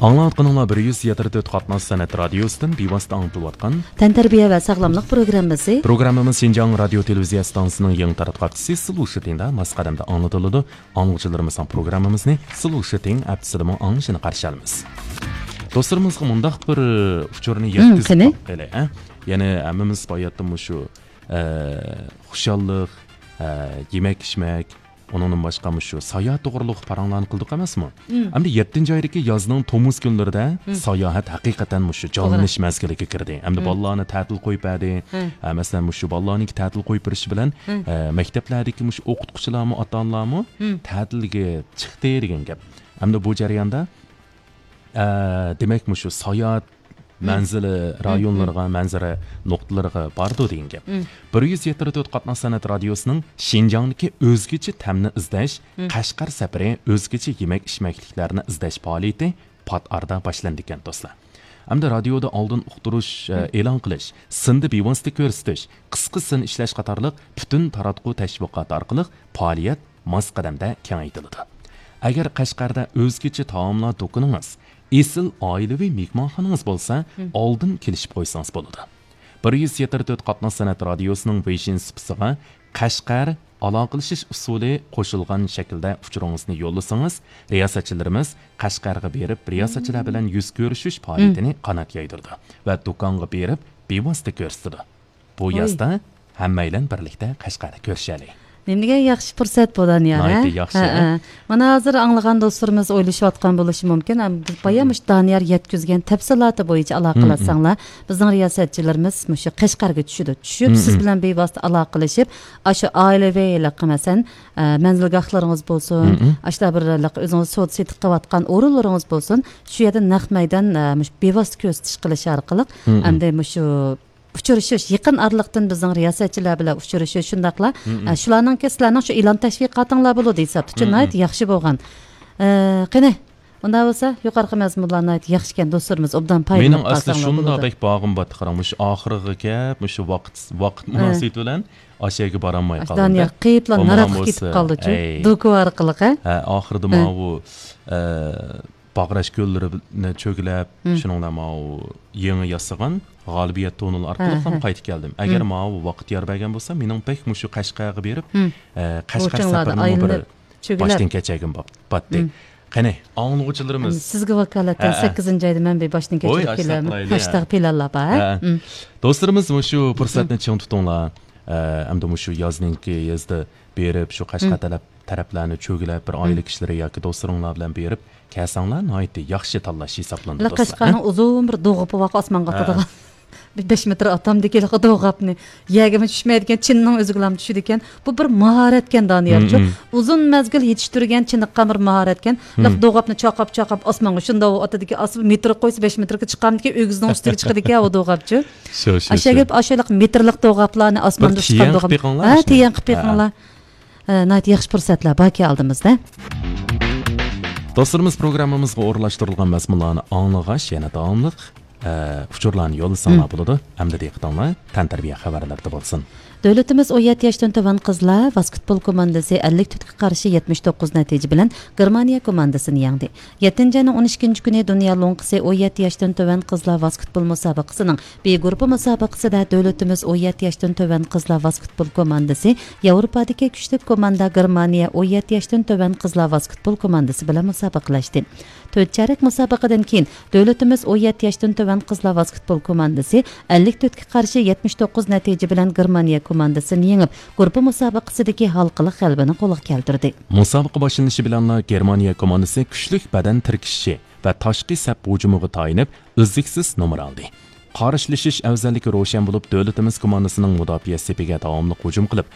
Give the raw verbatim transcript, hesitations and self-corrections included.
ئاڭلاۋاتقىنىڭلار بىر يۈز يەتتە تۆت قاتناش سەنئەت رادىيوسىدىن بىۋاسىتە ئاڭلىتىلىۋاتقان تەنتەربىيە ۋە ساغلاملىق پروگراممىسى. پروگراممىمىز شىنجاڭ رادىيو تېلېۋىزىيە ئىستانسىسىنىڭ يېڭى تاراتقۇ ئاكتىسى سىلۇشىتىندا ماس قەدەمدە ئاڭلىتىلىدۇ. ئاڭلىغۇچىلىرىمىزنىڭ پروگراممىمىزنى سىلۇشىتىڭ ئەپسىدىمۇ ئاڭلىشىنى قارشى ئالىمىز. دوستلىرىمىزغا مۇنداق بىر ئۇچۇرنى ھىم، يەتكۈزۈپ قېنى؟ باقايلى، ھە؟ يەنە ھەممىمىز باياتتىمۇ شۇ، ئە، خۇشاللىق، ئە، يېمەك-ئىچمەك، ئۇنىڭدىن باشقا مۇشۇ ساياھەت توغرىلىق پاراڭلارنى قىلدۇق ئەمەسمۇ؟ مم. ئەمدى يەتتىنچى ئايدىكى يازنىڭ تومۇز كۈنلىرىدە مم. ساياھەت ھەقىقەتەن مۇشۇ توغرا. جانلىنىش مەزگىلىگە كىردى. ئەمدى مم. بالىلارنى تەتىل قويۇپ بەردى. ھە. ھە، مەسىلەن، مۇشۇ بالىلارنىڭكى تەتىل قويۇپ بېرىشى بىلەن، مم. ھە، مەكتەپلەردىكى مۇشۇ ئوقۇتقۇچىلارمۇ، ئاتا-ئانىلارمۇ مم. تەتىلگە چىقتى دېگەن گەپ. ئەمدى بۇ جەرياندا، ئە، دېمەك، مۇشۇ ساياھەت مم. مەنزىلى مم، رايونلىرىغا، مم. مەنزىرە نۇقتىلىرىغا بارىدۇ دېگەن گەپ. مم. بىر يۈز يەتتە تۆت قاتناش سەنئەت رادىيوسىنىڭ شىنجاڭدىكى ئۆزگىچە تەمنى ئىزدەش، مم. قەشقەر سەپىرى ئۆزگىچە يېمەك-ئىچمەكلىكلەرنى ئىزدەش پائالىيىتى پات ئارىدا باشلىنىدىكەن، دوستلار. ئەمدى رادىيودا ئالدىن ئۇقتۇرۇش، ئە، مم. ئېلان قىلىش، سىندا بىۋاسىتە كۆرسىتىش، قىسقا سىن ئىشلەش قاتارلىق پۈتۈن تاراتقۇ تەشۋىقاتى ئارقىلىق پائالىيەت ماس قەدەمدە كېڭەيتىلىدۇ. ئەگەر قەشقەردە ئۆزگىچە تائاملار دۇكىنىڭىز، ئېسىل ئائىلىۋى مېھمانخانىڭىز بولسا، مم. ئالدىن كېلىشىپ قويسىڭىز بولىدۇ. بىر يۈز يەتتە تۆت قاتناش سەنئەت رادىيوسىنىڭ ۋېيشىن سۇپىسىغا قەشقەر ئالاقىلىشىش ئۇسۇلى قوشۇلغان شەكىلدە ئۇچۇرىڭىزنى يوللىسىڭىز، رىياسەتچىلىرىمىز قەشقەرگە بېرىپ، رىياسەتچىلەر مم. بىلەن يۈز كۆرۈشۈش مم. پائالىيىتىنى قانات يايدۇرىدۇ ۋە دۇكانغا بېرىپ بىۋاسىتە كۆرسىتىدۇ. بۇ ۋاي. يازدا ھەممەيلەن بىرلىكتە قەشقەردە كۆرۈشەلى. نېمىدېگەن ياخشى پۇرسەت بۇ، دانىيار، ھە؟ ناھايىتى ياخشى، ھە، ھە. ھە. مانا ھازىر ئاڭلىغان دوستلىرىمىز ئويلىشىۋاتقان بولۇشى مۇمكىن. ئەم، بايا مۇشۇ دانىيار يەتكۈزگەن تەپسىلاتى بويىچە ئالاقىلەشسەڭلار، بىزنىڭ رىياسەتچىلىرىمىز مۇشۇ قەشقەرگە چۈشىدۇ. چۈشۈپ، سىز بىلەن بىۋاسىتە ئالاقىلىشىپ، ئاشۇ ئائىلىۋى ھېلىقى، مەسىلەن، ئە، مەنزىلگاھلىرىڭىز بولسۇن، ئاشۇنداق بىر ھېلىقى ئۆزىڭىز سودا سېتىق قىلىۋاتقان ئورۇنلىرىڭىز بولسۇن، شۇ يەردە نەق مەيدان، ئە، مۇشۇ بىۋاسىتە كۆرسىتىش قىلىش ئارقىلىق، ئەمدى مۇشۇ ئۇچرىشىش، يېقىن ئارىلىقتىن بىزنىڭ رىياسەتچىلەر بىلەن ئۇچرىشىش، شۇنداقلا، ئە، شۇلارنىڭكى سىلەرنىڭ شۇ ئېلان تەشۋىقاتىڭلار بولىدۇ ھېسابتا. ناھايىتى ياخشى بولغان. ئە، قېنى، ئۇنداق بولسا، يۇقىرىقى مەزمۇنلار ناھايىتى ياخشىكەن، دوستلىرىمىز ئوبدان پايدىلىنىپ مېنىڭ ئەسلى قالساڭلار شۇنداق بولىدۇ. بەك باغىم بارتتى، قاراڭ، مۇشۇ ئاخىرىغا كەپ، مۇشۇ ۋاقىت، ۋاقىت مۇناسىۋىتى بىلەن ئاشۇ يەرگە بارالماي قالدىم. دانىيار قېيىپلا ناراتقا كېتىپ قالدىچۇ، ئەي. دوكا ئارقىلىق، ھە؟ ھە، ئاخىرىدا ماۋۇ، ئە، باغراش كۆللىرىنى چۆگىلەپ، شۇنىڭ بىلەن ماۋۇ يېڭى ياسىغان غالىبىيەت تونېلى ئارقىلىق ھەم قايتىپ كەلدىم. ئەگەر ماۋۇ ۋاقىت يار بەرگەن بولسا، مېنىڭ بەك مۇشۇ قەشقەرگە بېرىپ، ئە، قەشقەر سەپىرىنىمۇ بىر باشتىن كەچۈرگۈم بار، باتتى. قېنى، ئاڭلىغۇچىلىرىمىز. سىزگە ۋاكالەتەن سەككىزىنچى ئايدا مەن بىر باشتىن كەچۈرۈپ كېلەرمەن. ھاشتاق پىلانلار بار. دوستلىرىمىز مۇشۇ پۇرسەتنى چىڭ تۇتۇڭلار. ئە، ئەمدى مۇشۇ يازنىڭكى يازدا بېرىپ، شۇ قەشقەر تەرەپ، تەرەپلەرنى چۆگىلەپ، بىر ئائىلە كىشىلىرى ياكى دوستلىرىڭلار بىلەن بېرىپ كەلسەڭلار، ناھايىتى ياخشى تاللاش ھېسابلىنىدۇ، دوستلار. قەشقەرنىڭ ئۇزۇن بىر دوغىپى بار، ئاسمانغا ئاتىدىغان. بىر بەش مېتىر ئاتامدىكى ھېلىقى دوغاپنى يەرگىمۇ چۈشمەيدىكەن، چىنىنىڭ ئۆزىگىلا چۈشىدىكەن. بۇ بىر ماھارەتكەن، دانىيارچۇ. ئۇزۇن مەزگىل يېتىشتۈرگەن، چېنىققان بىر ماھارەتكەن. ھېلىقى دوغاپنى چاقاپ، چاقاپ ئاسمانغا شۇنداق ئاتىدىكەن، ئاسمانغا مېتىر قويسا، بەش مېتىرگە چىقارمىدىكەن، ئۆگزىنىڭ ئۈستىگە چىقىدىكەن ئۇ دوغاپچۇ. شۇ، شۇ، ئاشۇ شۇ. گەپ، ئاشۇ ھېلىقى مېتىرلىق دوغاپلارنى ئاسماندا ئۇچقان دوغاپ. ھە، تىيەن قىلىپ بېقىڭلار. ھە، ناھايىتى ياخشى پۇرسەتلەر باركەن ئالدىمىزدا. دوستلىرىمىز، پروگراممىمىزغا ئورۇنلاشتۇرۇلغان مەزمۇنلارنى ئاڭلىغاچ، يەنە داۋاملىق، ئە، ئۇچۇرلارنى يوللىساڭلار بولىدۇ. ئەمدى دىققىتىڭلار تەنتەربىيە خەۋەرلىرىدە بولسۇن. دۆلىتىمىز ئون يەتتە ياشتىن تۆۋەن قىزلار ۋاسكېتبول كوماندىسى ئەللىك تۆتكە قارشى يەتمىش توققۇز نەتىجە بىلەن گېرمانىيە كوماندىسىنى يەڭدى. يەتتىنچى ئاينىڭ ئون ئىككىنچى كۈنى دۇنيا لوڭقىسى ئون يەتتە ياشتىن تۆۋەن قىزلار ۋاسكېتبول مۇسابىقىسىنىڭ بى گۇرۇپپا مۇسابىقىسىدە دۆلىتىمىز ئون يەتتە ياشتىن تۆۋەن قىزلار ۋاسكېتبول كوماندىسى ياۋروپادىكى كۈچلۈك كوماندا گېرمانىيە ئون يەتتە ياشتىن تۆۋەن قىزلار ۋاسكېتبول كوماندىسى بىلەن مۇسابىقىلەشتى. تۆت چارەك مۇسابىقىدىن كېيىن، دۆلىتىمىز ئون يەتتە ياشتىن تۆۋەن قىزلار ۋاسكېتبول كوماندىسى ئەللىك تۆتكە قارشى يەتمىش توققۇز نەتىجە بىلەن گېرمانىيە كوماندىسىنى يېڭىپ، گۇرۇپپا مۇسابىقىسىدىكى ھالقىلىق غەلىبىنى قولغا كەلتۈردى. مۇسابىقە باشلىنىشى بىلەنلا گېرمانىيە كوماندىسى كۈچلۈك بەدەن تىركىشىشى ۋە تاشقى سەپ ھۇجۇمىغا تايىنىپ، ئۈزلۈكسىز نومۇر ئالدى. قارشىلىشىش ئەۋزەللىكى روشەن بولۇپ، دۆلىتىمىز كوماندىسىنىڭ مۇداپىئە سېپىگە داۋاملىق ھۇجۇم قىلىپ،